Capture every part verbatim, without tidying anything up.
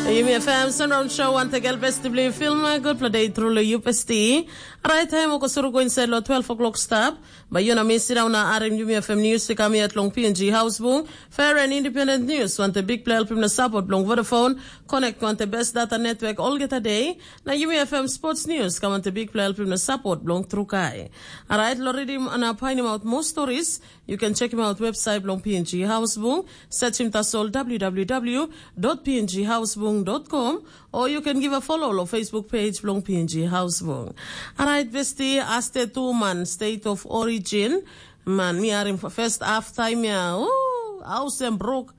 Yumi F M Sunround Show ante gel besti bli film good play day through lo U P S T. Right time oko suru go inside lo twelve o'clock stop. Ba yu na mi sit down na arim Yumi F M news i kam yet long P N G House Bung. Fair and independent news wante big play helpim na support long Vodafone. Connect wante best data network olgeta day. Na Yumi F M sports news kam wante big play helpim na support long Trukai. Alright, lo redim na painim out more stories. You can check him out website long P N G House Bung. Search him tasol w w w dot p n g house bung dot com, or you can give a follow lo Facebook page long P N G House Bung. Alright, besti, aste tu man, state of origin. Man, mi arim first half time ya. Ooh, house and broke.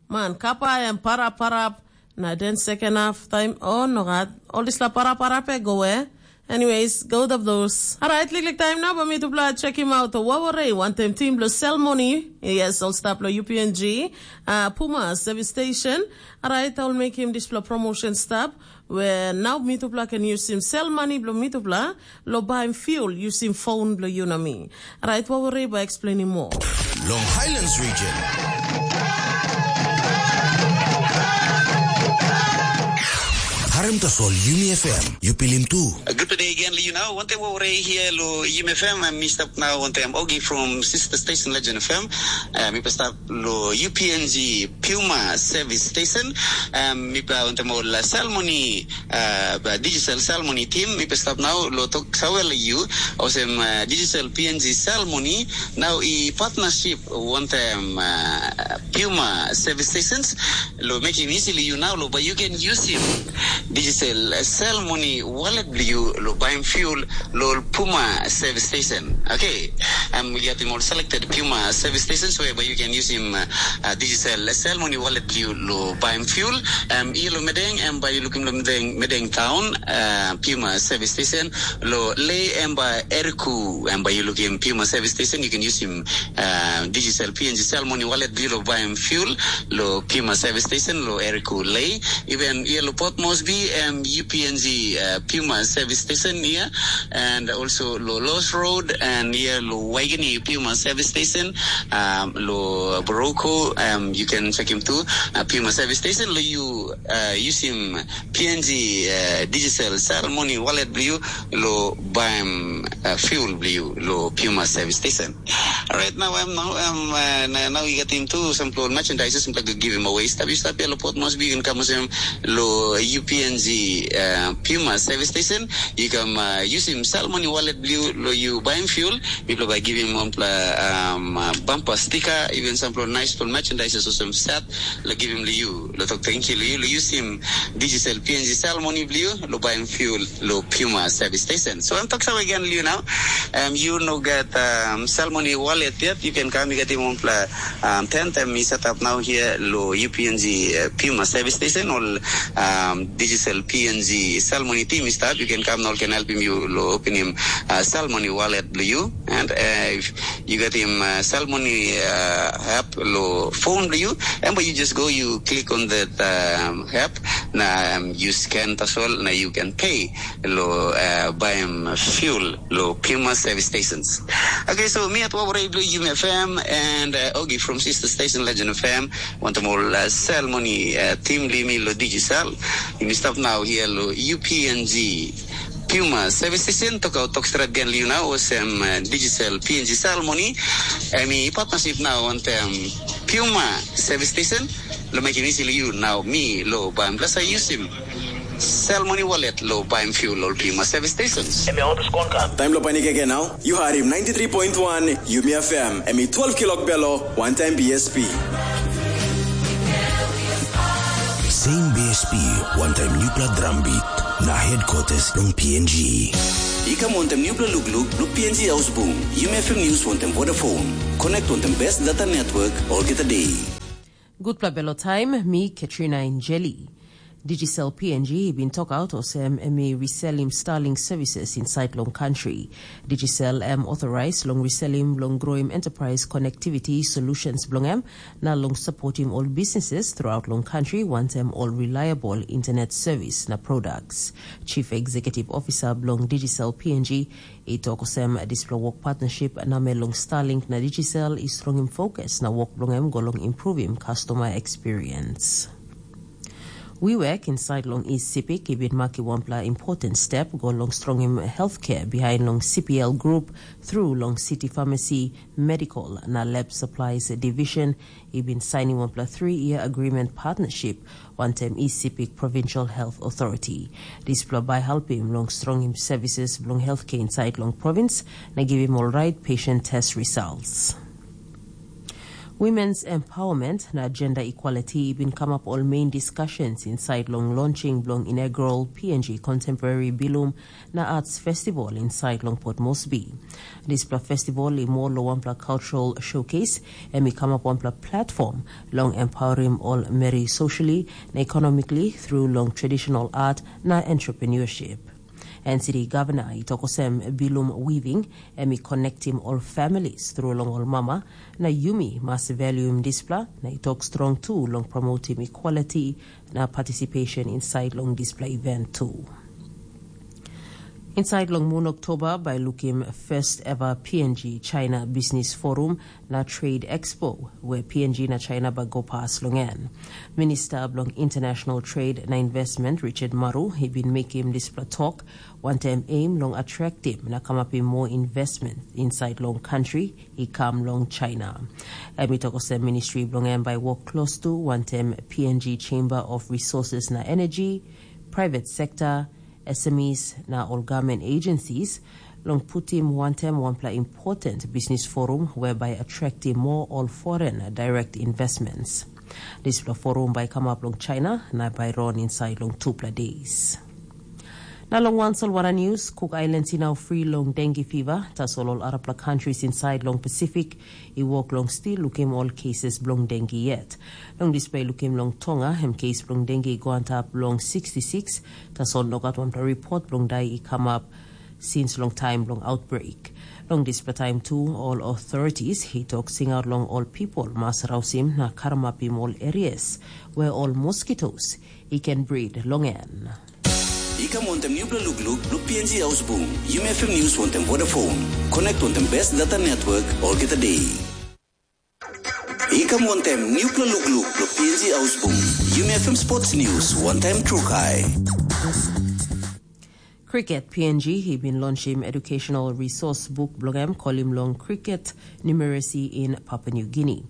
Man, kapa em parap parap. Na den second half time, oh no God, all this la parap parap e go eh. Anyways, go of those. Alright, liklik time na ba mi tupla check him out. Waware wantem team lo sell money. Yes, all stop lo U P N G. Uh, Puma service station. Alright, I'll make him this lo promotion stop. Where now mi tupla can use him sell money blo mi tupla lo buy him fuel using phone blo you na mi. Alright, Waware ba explaining more. Long Highlands region. Harim tasol Yumi F M, yu pilim tu. Good day again, Liu. Now, one time over here, lo Yumi F M, I'm mixed up now, one time Ogi from Sister Station Legend F M. Uh, mi pa stap lo U P N G Puma Service Station. Um, mi pa one time all uh, ceremony, uh, digital ceremony team. Mi pa stap now lo tok sawel you, osem uh, digital P N G ceremony. Now, i partnership one time uh, Puma Service Stations. Lo making easily you now, lo, but you can use him digital uh, sell money wallet bli you lo buy him fuel lo Puma service station. Okay, um, we got him all selected Puma service stations whereby you can use him uh, uh, digital uh, sell money wallet bli you lo buy him fuel. Um, here lo medeng, um, by you looking lo medeng, medeng town, uh, Puma service station lo lay, um, by Eriku, um, by you looking Puma service station, you can use him uh, digital P N G sell money wallet bli you lo buy him fuel lo Puma service station lo Eriku lay. Even here lo Port Moresby, um, U P N G uh, Puma service station here, and also lo Lost Road, and here lo Waigani Puma service station, um, lo Boroko, um, you can check him too. Uh, Puma service station lo you uh, use him P N G uh, digital sell money wallet bli you lo buy him uh, fuel bli you lo Puma service station. Alright, now I'm now I'm uh, now, now you get him too some clothes merchandise, some like give him away. Stop you stop here lo Port Moresby, you can come with him lo U P N G uh, Puma service station. You can uh, use him sell money wallet bli you lo you buy him fuel. People by give him one pla, um, uh, bumper sticker, even some nice merchandise or some set. Lo give him lo you. Lo talk thank you lo you. Lo use him digital P N G sell money bli you lo buy him fuel lo Puma service station. So I'm talk so again lo you now. Um, you know get um, sell money wallet yet. You can come you get him one pla um, ten time he set up now here lo U P N G uh, Puma service station or um, digital P N G sell money team is that you can come now can help him you lo open him uh, sell money wallet bli you and uh, if you get him uh, sell money uh, app lo phone bli you and but you just go you click on that um, app na um, you scan tasol na you can pay lo uh, buy him fuel lo Puma service stations. Okay, so me at Wawre Blue U M F M and uh, Ogi from Sister Station Legend F M. Want them all uh, sell money uh, team limi lo digital. You stop now here lo U P N G Puma service station toka tok strat gen liu na osem uh, digital P N G sell money. Emi partnership now want um, Puma service station. Lo make it easy you now me lo bam plus I use him. Sell money wallet lo buy fuel lo Puma service stations. Emi on the scorecard. Time lo panic again now. You heard him ninety-three point one Yumi F M. Emi twelve kilok belo, one time B S P. Same B S P, one time nuclear drum beat. Na headquarters long P N G. I kam wantem nupela lukluk, lo P N G Ausbung, Yumi F M News wantem Vodafone. Connect wantem best data network, all get a day. Gutpela belo taim, mi Katrina Injeli. Digicel P N G i bin tok aut olsem em i reselim Starlink services insait long kantri. Digicel em authorized long reselim long growing enterprise connectivity solutions bilong em, na long supportim ol businesses throughout long kantri wantem ol reliable internet service na products. Chief Executive Officer bilong Digicel P N G i tok olsem dispela work partnership namel long Starlink na Digicel i strongim focus na work bilong em go long improvim customer experience. Wiwek insait long East Sipik i bin makim wanpela important step go long strongim healthcare behind long C P L Group through long city pharmacy, medical na lab supplies division i bin sainim wanpela three-year agreement partnership wantaim East Sipik Provincial Health Authority. Dispela bai helpim long strongim services bilong healthcare insait long province na givim ol right patient test results. Women's empowerment na gender equality i bin kamap ol main discussions inside long launching bilong inaugural P N G Contemporary Bilum na Arts Festival inside long Port Moresby. Dispela festival i more long wanpela cultural showcase, em i kamap wanpela platform long empowering ol meri socially na economically through long traditional art na entrepreneurship. N C D Governor i tok olsem bilum weaving em i connectim ol families through long ol mama, na yumi mas valuim dispela na i tok strong tu long promotim equality na participation inside long dispela event tu. Inside long mun Oktoba bai lukim first ever P N G China Business Forum na Trade Expo, where P N G na China bai go pas long en. Minister bilong International Trade na Investment Richard Maru i bin mekim dispela tok wantaim aim long attractim na kamapim more investment inside long country i kam long China. Em i tok olsem ministry bilong em bai work close to wantaim P N G Chamber of Resources na Energy, private sector, S M Es na ol government agencies long putim wantaim wanpela important business forum whereby attractim more ol foreign direct investments. Dispela forum bai kamap long China na bai run inside long tupela days. Na long wan solwara news, Cook Islands i nau free long dengue fever, tasol ol arapela countries inside long Pacific i wok long stil lukim ol cases bilong dengue yet. Long dispela i lukim long Tonga, em case bilong dengue i go antap long sixty-six, tasol nogat wanpela report bilong dai i kamap since long taim bilong outbreak. Long dispela taim tu, ol authorities i tok singaut long ol people mas rausim na karamapim ol areas where ol mosquitoes i can breed long en. I kam wantaim nupela lukluk bilong P N G Ausbung, Yumi F M News wantaim Vodafone. Connect wantaim best data network olgeta day. I kam wantaim nupela lukluk bilong P N G Ausbung, Yumi F M Sports News wantaim Trukai. Cricket P N G i bin launchim educational resource book bilong em kolim long Cricket Numeracy in Papua New Guinea.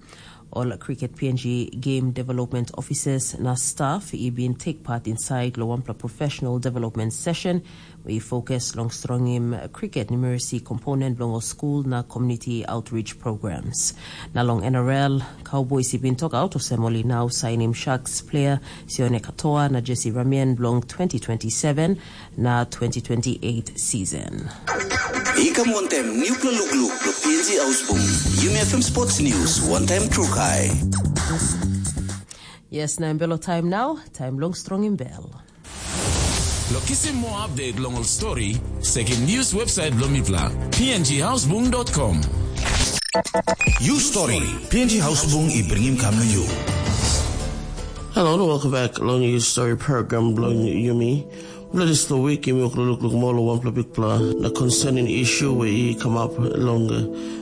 Ol Cricket P N G game development officers na staff i bin take part inside long wanpela professional development session we i focus long strongim cricket numeracy component bilong ol school na community outreach programs. Na long N R L, Cowboys i bin tok out olsem ol i nau sainim Sharks player Sione Katoa na Jesse Ramien bilong twenty twenty-seven na twenty twenty-eight season. I kam wantaim nupela lukluk bilong P N G Ausbung, Yumi F M Sports News wantaim Trukai. Yes, na em belo taim nau, taim long strongim bel. Lo kisim moa update long ol story, sekim news website bilong mipela, P N G Hausbung dot com. You story, P N G Hausbung i bringim kam na you. Hello, welcome back long your story program bilong Yumi. Bla dispela wik yumi wok lukluk moa long wanpela bikpela na concerning issue we i kamap long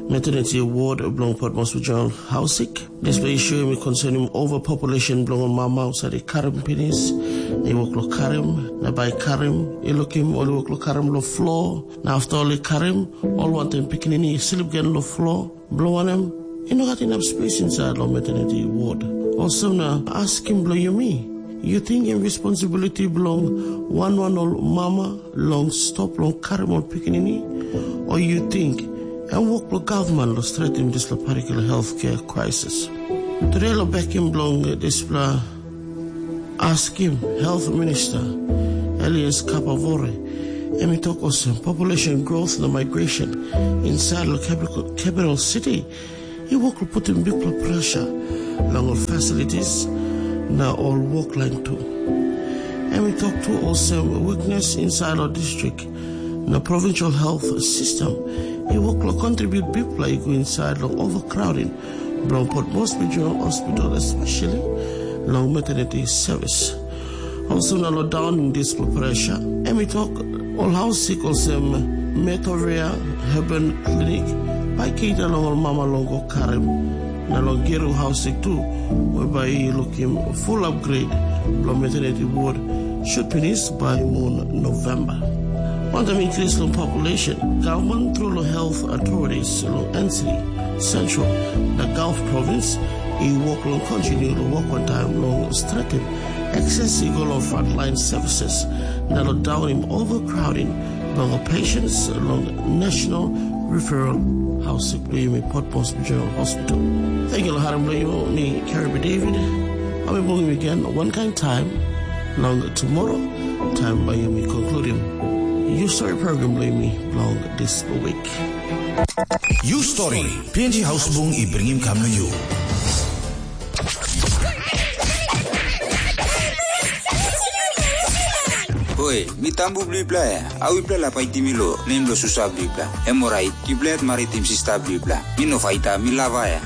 maternity ward bilong Port Moresby General Hausik. Dispela issue em i concerning overpopulation bilong ol mama husat i karim pinis, na i wok long karim, na bai karim, i lukim ol i wok long karim long floor, na after ol i karim, ol wantaim pikinini i slip gen long floor, bilong wanem, i no gat inap space inside long maternity ward. Olsem na askim bilong yumi, you think em responsibility bilong wan wan ol mama long stop long karim ol pikinini, o you think em wok bilong gavman long stretim dispela particular healthcare crisis? Today long bekim bilong dispela askim, health minister Elias Kapavore, em i tok olsem, population growth na migration inside long capital, capital city i wok long putim bikpela pressure long ol facilities na ol workline tu. Em i tok tu olsem, weakness inside long district na provincial health system i wok long contribute bikpela i go inside long overcrowding bilong Port Moresby General Hospital, especially long maternity service. Olsem na long daunim dispela pressure, em i tok, ol haus sik olsem Metoria Heaven Clinic bai keita long ol mama long go karim, na long Geru haus sik tu, we bai i lukim full upgrade Bilong maternity ward should pinis bai mun November. Wantaim increase long population, government through long health authorities long N C D, Central, na Gulf Province, i work long continue long work on time long strengthen access i go long frontline services, na long downing overcrowding bilong patients long National Referral House bilong yumi Potmos General Hospital. Thank you, Laharam Blayo, mi Caribou David. I'll be bringing you again one kind time, long tomorrow, time by yumi concluding. You story program bilong yumi long this week. You Story, P N G Hausbung i bringim kam na you. Hoi, mi tambu bilipela ya. Au ipela la paitim mi lo, nem lo susa bilipela. Em orait, yupela yet maritim sista bilipela. Mi no faita, mi lava ya.